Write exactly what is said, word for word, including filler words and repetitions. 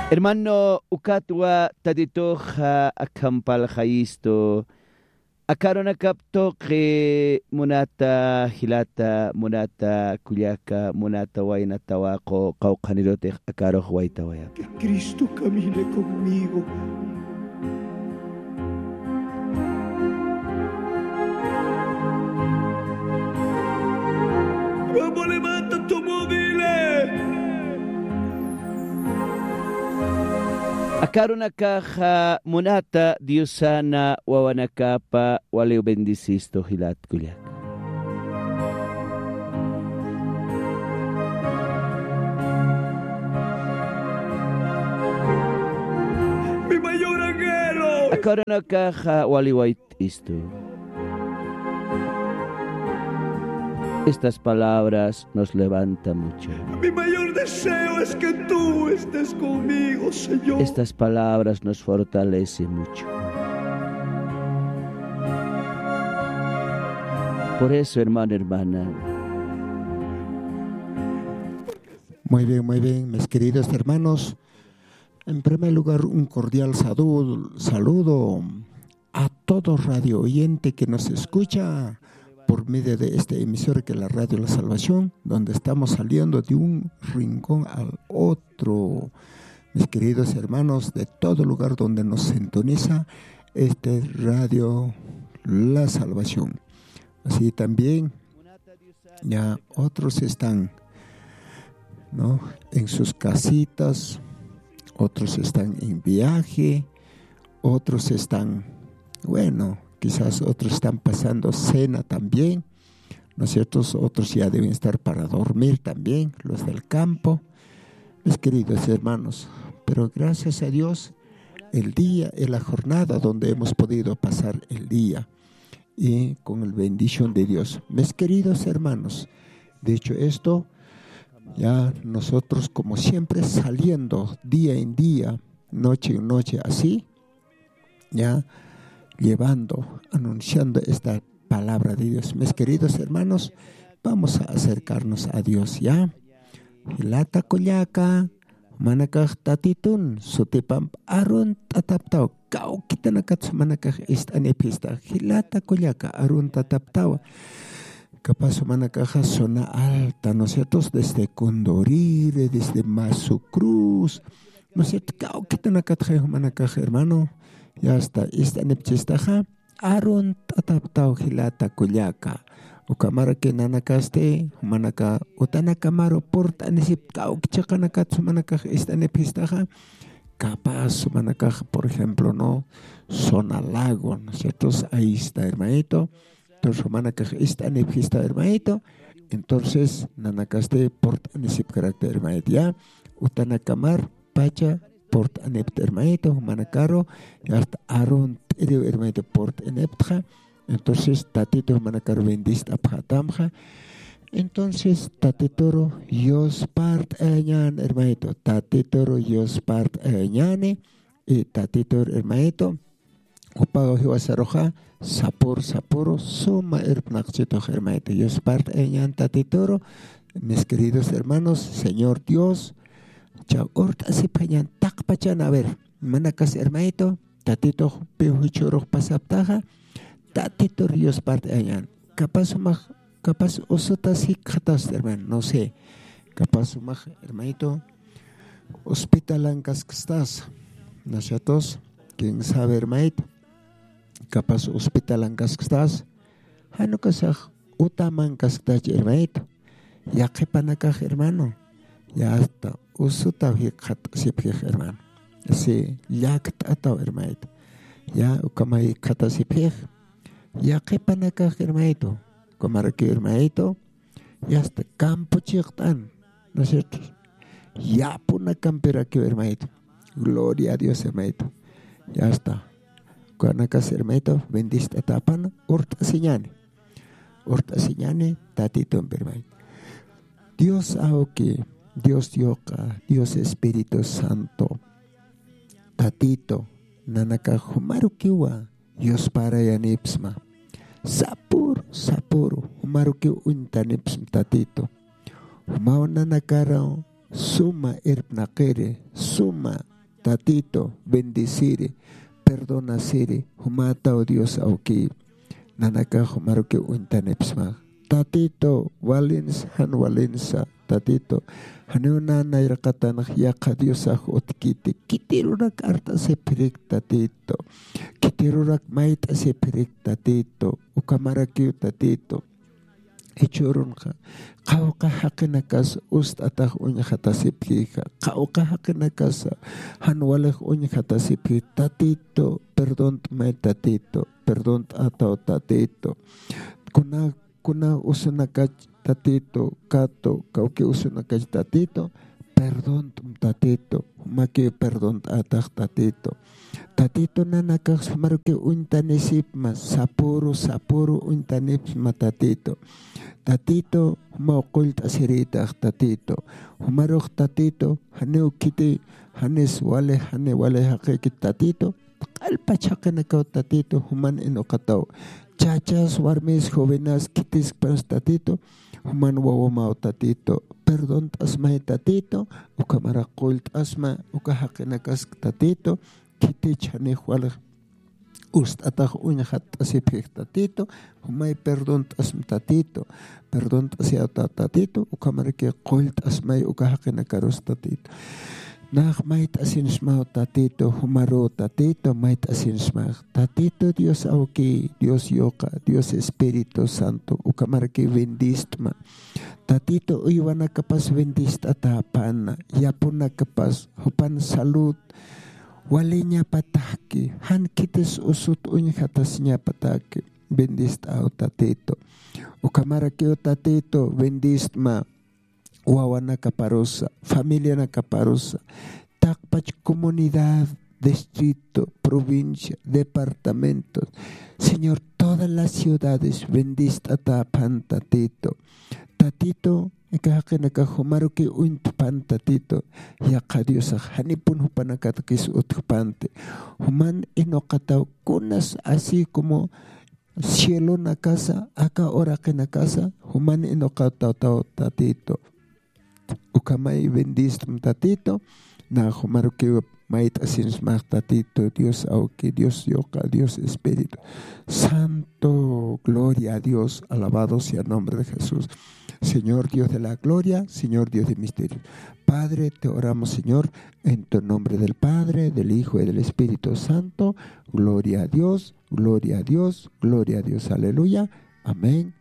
Hermano, ukatwa Tatituxa akhampalxayistu. Aka arunakap tuqi munata jilata, munata kullaka, munata wayna tawaqu qawqhanirutix aka arux waytawayapxi. Que Cristo camine conmigo. Luego levanta tu móvil. Aka arunakaxa munata Diosana wawanakapa waliw bendicistu jilat kullaka. Mi mayor anhelo. Aka arunakaxa wali wayt'istu. Estas palabras nos levanta mucho. Mi mayor deseo es que tú estés conmigo, Señor. Estas palabras nos fortalece mucho. Por eso, hermano, hermana. Muy bien, muy bien, mis queridos hermanos. En primer lugar, un cordial saludo, saludo a todo radio oyente que nos escucha por medio de este emisor que es la Radio La Salvación, donde estamos saliendo de un rincón al otro. Mis queridos hermanos, de todo lugar donde nos sintoniza este Radio La Salvación. Así también, ya otros están, ¿no? En sus casitas, otros están en viaje, otros están, bueno, quizás otros están pasando cena también, ¿no es cierto? Otros ya deben estar para dormir también, los del campo, mis queridos hermanos. Pero gracias a Dios, el día, en la jornada donde hemos podido pasar el día y con la bendición de Dios. Mis queridos hermanos, dicho esto, ya nosotros como siempre saliendo día en día, noche en noche así, ya llevando, anunciando esta palabra de Dios. Mis queridos hermanos, vamos a acercarnos a Dios, ¿ya? Jilata kullaka, jumanakax Tatitun sutipamp arunt'ataptaw, kawkitanakat jumanakax ist'anipxista, jilata kullaka, arunt'ataptawa. Capaz jumanakaxa zona alta, ¿no es cierto? Desde Condorire, desde Masu Cruz, ¿no es cierto? Kawkitanakatxa jumanakax, hermano, ya está, ist'anipchistaxa, arunt'ataptaw jilata kullaka. Ukamaraki nanakasti, jumanaka utanakamaru purt'anisipta kawki chiqanakat jumanakax ist'anipxistaxa, capaz jumanakax, por ejemplo, ¿no? Zona Lago, ¿no es cierto? Ahí está, hermanito. Entonces, jumanakax ist'anipxista, hermanito. Entonces, nanakasti purt'anisipkarakta, hermanito, ya. Utanakamar pacha purt'anipta, hermanito, jumanakaru, ya está, arunt'iriw, hermanito, purt'aniptxa. Entonces, Tatitu jumanakaru bendist'apxatamxa. Entonces, Tatituru yuspart'ayañän, hermanito, Tatituru yuspart'ayañäni, y Tatituru, hermanito, jupaw jiwasaruxa sapur sapuru suma irpnaqchitux, hermanito. Yuspart'ayañän Tatituru, mis queridos hermanos, Señor Dios, chaw urt'asipxañän taqpachan, a ver, manakas, hermanito, Tatitux piw jichhürux pasaptaxa, Tatitur yuspart'ayañän. Capaz jumax, capaz usutas jikxatasta, hermano, no sé. Capaz jumax, hermanito, hospitalankaskstasa, ¿no es cierto? Quién sabe, hermanito. Capaz hospitalankaskstasa, jan ukasax utamankasktachi, hermanito. Yaqhipanakax, hermano, ya hasta usutaw jikxatasipxix, hermano. Sí, llakt'ataw, hermanito. Ya ukhama jikxatasipxix. Yaqhipanakax, hermanito, ukhamaraki, hermanito, ya hasta campo chiqt'an, ¿no es cierto? Yapunakampirakiw, hermanito. Gloria a Dios, hermanito. Ya está. Ukanakas, hermanito, bendist'atäpana, urt'asiñäni. Urt'asiñäni Tatitumpi, hermanito. Dios awki, Dios yuqa, Dios Espíritu Santo, Tatito, nanakax jumarukiwa yusparayanipxsma. Sapüru, sapüru, jumarukiw uñtanipxsma, Tatito. Jumaw nanakaru suma irpnaqiri, suma Tatito, bendeciri, perdonasiri, jumataw Dios awki. Nanakax jumaruki uñtanipsmax. Tatito, walinsa, jan walinsa, Tatito. Janiw nä nayraqatanax yaqha Diosax utkiti. Khitirurak art'asipxirik, Tatito. Khitirurak mayt'asipxirik, Tatito. Ukhamarakiw, Tatito. Jichhürunxa, qawqha jaqinakas ust'atax uñxatasipxixa, qawqha jaqinakasa jan walix uñxatasipxi, Tatito, perdont'may, Tatito, perdont'ataw, Tatito. Kuna, kuna usunakach, Tatito, kato, kawki usunakach, Tatito, perdont'm, Tatito, jumaki perdont'atax, Tatito. Tatito, nanakax jumaruki uñtanisipma, sapüru, sapüru uñtanipsma, Tatito. Tatito, jumaw qullt'asirïtax, Tatito. Jumarux, Tatito, janiw khiti, janis wali, jani wali jaqïkit, Tatito. Q'alpach jaqinakaw, Tatito, juman inuqataw. Chachas, warmis, jovenas, khitiskpans, Tatito, juman wawamaw, Tatito. Perdont'asmay, Tatito, ukhamaraki qullt'asma, uka jaqinakask, Tatito, khitich janix walix ust'atax uñxatt'asipxix, Tatito, jumay perdont'asm, Tatito, perdont'asiyaw, Tatito, ukhamaraki qullt'asmay uka jaqinakarus, Tatito. Nax mayt'asinsmaw, Tatito, jumaru, Tatito, mayt'asinsmax. Tatito Dios awki, Dios yuqa, Dios Espíritu Santo, ukhamaraki bendist'ma. Tatito, uywanakapas bendist'atäpana, yapunakapas, jupan salud waliñapataki, jan khitis usut uñxatasiñapataki, bendist'aw, Tatito. Ukhamarakiw, Tatito, bendist'ma. Wawanakaparusa, familianakaparusa, taqpach comunidad, distrito, provincia, departamento, Señor, todas las ciudades, bendist'atäpan, Tatito. Tatito, aka jaqinakax jumaruki uñtpan, Tatito, yaqha Diosax janipun jupanakatakis utjpanti. Juman inuqataw kunas así como cielonakasa, aka uraqinakasa, juman inuqataw, Tatito. Ukhamay bendist'm, Tatito, nax jumarukiw mayt'asinsmax, Tatito, Dios awki, Dios yuqa, Dios Espíritu Santo, gloria a Dios, alabado sea el nombre de Jesús. Señor Dios de la gloria, Señor Dios de misterio. Padre, te oramos, Señor, en tu nombre del Padre, del Hijo y del Espíritu Santo. Gloria a Dios, gloria a Dios, gloria a Dios. Aleluya. Amén.